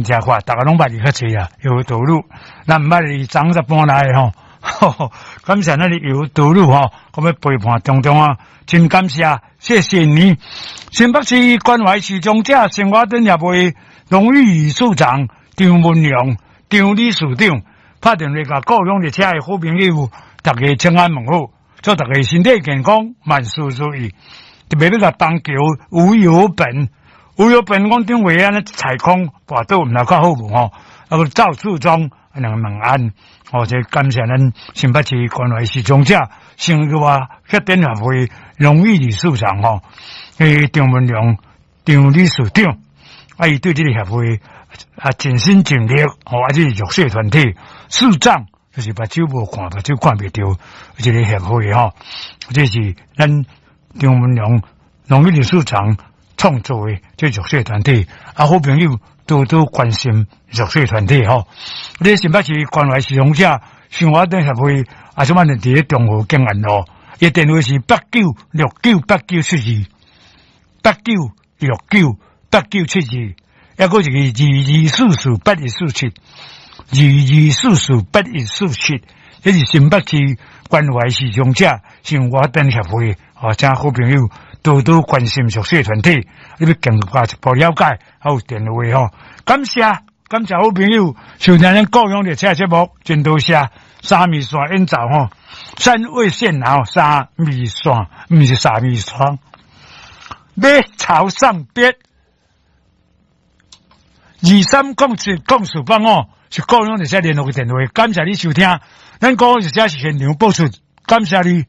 誠快，逐家攏捌伊較濟啊，尤德魯，咱毋捌伊昨才搬來的吼，感謝咱的尤德魯吼，閣欲陪伴中中啊，真感謝，謝謝你。新北市關懷視障者生活燈協會榮譽理事長張文良張理事長，拍電話共各勇熱車的好朋友，逐家請安問好，祝逐家身體健康，萬事如意。特別欲共邦橋吳有本，吳有本講頂回按呢踩空跋倒，毋知較好無吼？啊，閣趙處長兩個問安，哦，這感謝咱新北市關懷視障者生活燈協會榮譽理事長吼，張文良張理事長，啊，伊對這个協會啊盡心盡力，吼，啊，這是弱勢團體，視障就是目睭無看，目睭看袂著，這个協會吼，這是咱張文良榮譽理事長創造的這弱勢團體，啊，好朋友多多關心弱勢團體吼。你新北市關懷視障者生活燈協會，啊，什麼佇咧中和景安路，伊電話是89698972，89698972，抑閣一个22448147，22448147，這是新北市關懷視障者生活燈協會，哦，請好朋友多多關心弱勢團體，你欲更加一步了解，還有電話吼，感謝感謝好朋友收聽咱高雄熱車節目，真多謝三味線演奏吼，三味線吼，三味線，毋是三味窗，欲朝上邊，23070485是高雄熱車聯絡的電話，感謝你收聽，咱高雄熱車是現場播出，感謝你。